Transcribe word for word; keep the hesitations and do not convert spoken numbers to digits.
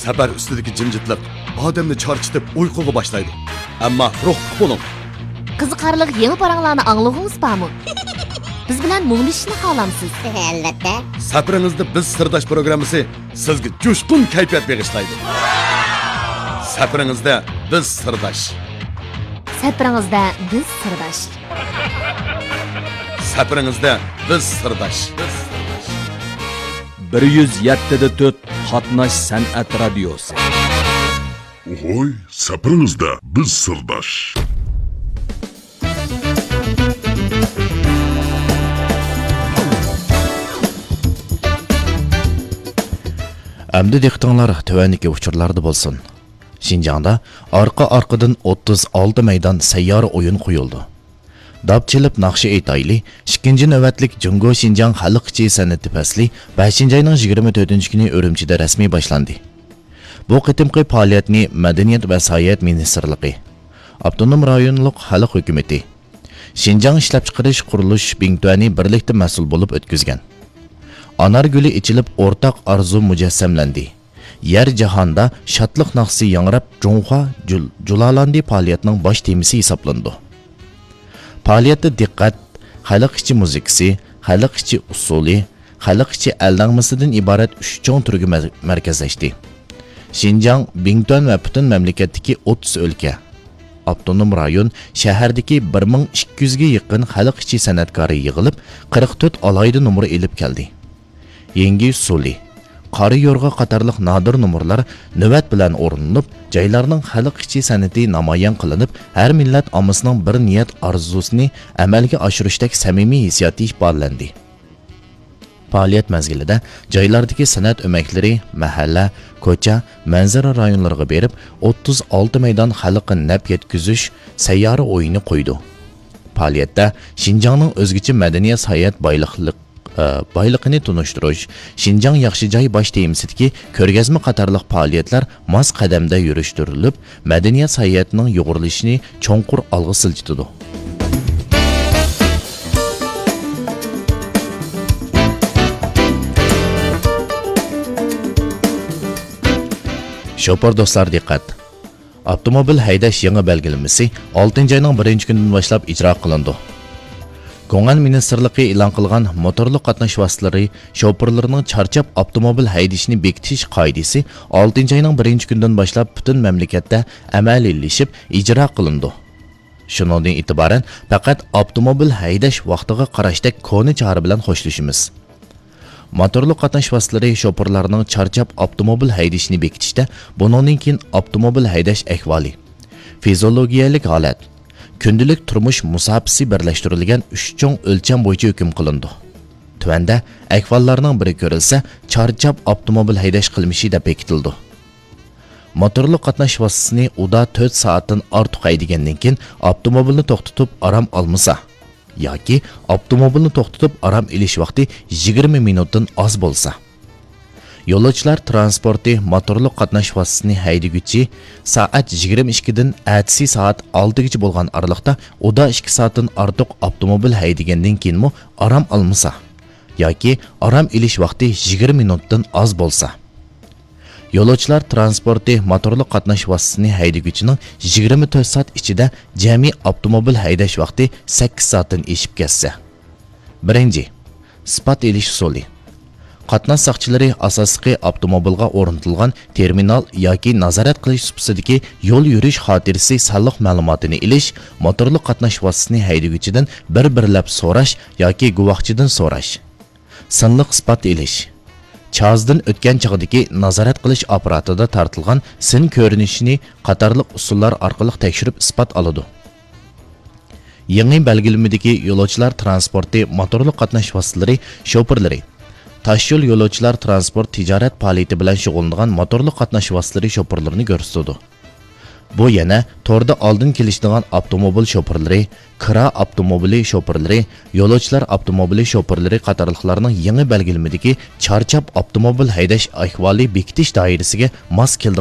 سەپەر ئۈستىدىكى جىمجىتلىق ئادەمنى چارچىتىپ ئۇيقۇغا باشلايدۇ. ئەمما روھلۇق بولۇڭ. قىزىقارلىق يېڭى پاراڭلارنى ئاڭلىغۇڭىز بارمۇ؟ بىز بىلەن مۇڭدىشىشنى خالامسىز؟ ئەلۋەتتە. سەپىرىڭىزدە بىز سىرداش پروگراممىسى سىزگە جۇشقۇن كەيپىيات بېغىشلايدۇ. سەپىرىڭىزدە بىز سىرداش. سەپىرىڭىزدە بىز سىرداش. سەپىرىڭىزدە بىز سىرداش. بىر يۈز يەتتە دە تۆت قاتناش سەنئەت رادىيوسى. ئوھوي، سەپىرىڭىزدە بىز سىرداش. ئەمدى دىققىتىڭلار تۆۋەندىكى ئۇچۇرلاردا بولسۇن. شىنجاڭدا ئارقا-ئارقىدىن ئوتتۇز ئالتە مەيدان سەييارە ئويۇن قويۇلدى. داپ چېلىپ ناخشا ئېيتايلى، ئىككىنچى نۆۋەتلىك جۇڭگو شىنجاڭ خەلق ئىچى سەنئىتى پەسلى بەشىنچى ئاينىڭ يىگىرمە تۆتىنچى كۈنى ئۈرۈمچىدە رەسمىي باشلاندى. بۇ قېتىمقى پائالىيەتنى مەدەنىيەت ۋە ساياھەت مىنىستىرلىقى، ئاپتونوم رايونلۇق خەلق ھۆكۈمىتى، شىنجاڭ ئىشلەپچىقىرىش قۇرۇلۇش بىڭتۈەنى بىرلىكتە مەسئۇل بولۇپ ئۆتكۈزگەن. ئانار گۈلى ئېچىلىپ، ئورتاق ئارزۇ مۇجەسسەملەندى. يەر جاھاندا شادلىق ناخشىسى ياڭراپ، جۇڭخۇا جۇل-، جۇلالاندى پائالىيەتنىڭ باش تېمىسى ھېسابلىنىدۇ. پائالىيەتتە دىققەت خەلق ئىچى مۇزىكىسى، خەلق ئىچى ئۇسسۇلى، خەلق ئىچى ئەلنەغمىسىدىن ئىبارەت ئۈچ چوڭ تۈرگە مەر-، مەركەزلەشتى. شىنجاڭ، بىڭتۈەن ۋە پۈتۈن مەملىكەتتىكى ئوتتۇز ئۆلكە، ئاپتونوم رايون، شەھەردىكى بىر مىڭ ئىككى يۈزگە يېقىن خەلق ئىچى سەنئەتكارى يىغىلىپ، قىرىق تۆت ئالاھىدە نومۇر ئېلىپ كەلدى. يەڭگى ئۇسسۇلى، قارا يورغا قاتارلىق نادىر نومۇرلار نۆۋەت بىلەن ئورۇنلىنىپ، جايلارنىڭ خەلق ئىچى سەنئىتى نامايان قىلىنىپ، ھەر مىللەت ئاممىسىنىڭ بىر نىيەت ئارزۇسىنى ئەمەلگە ئاشۇرۇشتەك سەمىمىي ھېسسىياتى ئىپادىلەندى. پائالىيەت مەزگىلىدە جايلاردىكى سەنئەت ئۆمەكلىرى، مەھەللە، كوچا، مەنزىرە رايونلىرىغا بېرىپ، ئوتتۇز ئالتە مەيدان خەلققە نەپ يەتكۈزۈش سەييارە ئويۇنى قويدى. پائالىيەتتە شىنجاڭنىڭ ئۆزگىچە مەدەنىيەت ساياھەت بايلىقلىق-، ئە، بايلىقىنى تونۇشتۇرۇش، شىنجاڭ ياخشى جاي باش تېمىسىدىكى كۆرگەزمە قاتارلىق پائالىيەتلەر ماس قەدەمدە يۈرۈشتۈرۈلۈپ، مەدەنىيەت ساياھىتىنىڭ يۇغۇرۇلۇشىنى چوڭقۇر ئالغا سىلجىتىدۇ. شوپۇر دوستلار دىققەت! ئاپتوموبىل ھەيدەش يېڭى بەلگىلىمىسى ئالتىنچى ئاينىڭ بىرىنچى كۈنىدىن باشلاپ ئىجرا قىلىنىدۇ. گۇڭئەن مىنىستىرلىقى ئېلان قىلغان موتورلۇق قاتناش ۋاسىتىلىرى شوپۇرلىرىنىڭ چارچاپ ئاپتوموبىل ھەيدىشىنى بېكىتىش قائىدىسى ئالتىنچى ئاينىڭ بىرىنچى كۈنىدىن باشلاپ پۈتۈن مەملىكەتتە ئەمەلىيلىشىپ ئىجرا قىلىنىدۇ. شۇنىڭدىن ئېتىبارەن پەقەت ئاپتوموبىل ھەيدەش ۋاقتىغا قاراشتەك كونا چارە بىلەن خوشلىشىمىز. موتورلۇق قاتناش ۋاسىتىلىرى شوپۇرلارنىڭ چارچاپ ئاپتوموبىل ھەيدىشىنى بېكىتىشتە بۇنىڭدىن كېيىن ئاپتوموبىل ھەيدەش ئەھۋالى، فىزىولوگىيەلىك ھالەت، كۈندىلىك تۇرمۇش مۇساپىسى بىرلەشتۈرۈلگەن ئۈچ چوڭ ئۆلچەم بويىچە ھۆكۈم قىلىنىدۇ. تۆۋەندە ئەھۋاللارنىڭ بىرى كۆرۈلسە، چارچاپ ئاپتوموبىل ھەيدەش قىلمىشى دەپ بېكىتىلىدۇ. موتورلۇق قاتناش ۋاسىتىسىنى ئۇدا تۆت سائەتتىن ئارتۇق ھەيدىگەندىن كېيىن، ئاپتوموبىلنى توختىتىپ ئارام ئالمىسا، ياكى ئاپتوموبىلنى توختىتىپ ئارام ئېلىش ۋاقتى يىگىرمە مىنۇتتىن ئاز بولسا. يولۇچىلار ترانسپورتى موتورلۇق قاتناش ۋاسىتىسىنى ھەيدىگۈچى سائەت يىگىرمە ئىككىدىن ئەتىسى سائەت ئالتىگىچە بولغان ئارىلىقتا ئۇدا ئىككى سائەتتىن ئارتۇق ئاپتوموبىل ھەيدىگەندىن كېيىنمۇ ئارام ئالمىسا، ياكى ئارام ئېلىش ۋاقتى يىگىرمە مىنۇتتىن ئاز بولسا. يولۇچىلار ترانسپورتى موتورلۇق قاتناش ۋاسىتىسىنى ھەيدىگۈچىنىڭ يىگىرمە تۆت سائەت ئىچىدە جەمئىي ئاپتوموبىل ھەيدەش ۋاقتى سەككىز سائەتتىن ئېشىپ كەتسە. بىرىنچى، ئىسپات ئېلىش ئۇسۇلى. قاتناش ساقچىلىرى ئاساسلىقى ئاپتوموبىلغا ئورنىتىلغان تېرمىنال ياكى نازارەت قىلىش سۇپىسىدىكى يول يۈرۈش خاتىرىسى سانلىق مەلۇماتىنى ئېلىش، موتورلۇق قاتناش ۋاسىتىسىنى ھەيدىگۈچىدىن بىر-بىرلەپ سوراش ياكى گۇۋاھچىدىن سوراش. سىنلىق ئىسپات ئېلىش. چازدىن ئۆتكەن چاغدىكى نازارەت قىلىش ئاپپاراتىدا تارتىلغان سىن كۆرۈنۈشىنى قاتارلىق ئۇسۇللار ئارقىلىق تەكشۈرۈپ ئىسپات ئالىدۇ. يېڭى بەلگىلىمىدىكى يولۇچىلار ترانسپورتى موتورلۇق قاتناش ۋاسىتىلىرى شوپۇرلىرى، تاشيول يولۇچىلار ترانسپورت تىجارەت پائالىيىتى بىلەن شۇغۇللىنىدىغان موتورلۇق قاتناش ۋاسىتىلىرى شوپۇرلىرىنى كۆرسىتىدۇ. بۇ يەنە توردا ئالدىن كېلىشىدىغان ئاپتوموبىل شوپۇرلىرى، كىرا ئاپتوموبىلى شوپۇرلىرى، يولۇچىلار ئاپتوموبىلى شوپۇرلىرى قاتارلىقلارنىڭ يېڭى بەلگىلىمىدىكى چارچاپ ئاپتوموبىل ھەيدەش ئەھۋالى بېكىتىش دائىرىسىگە ماس كېلىدىغان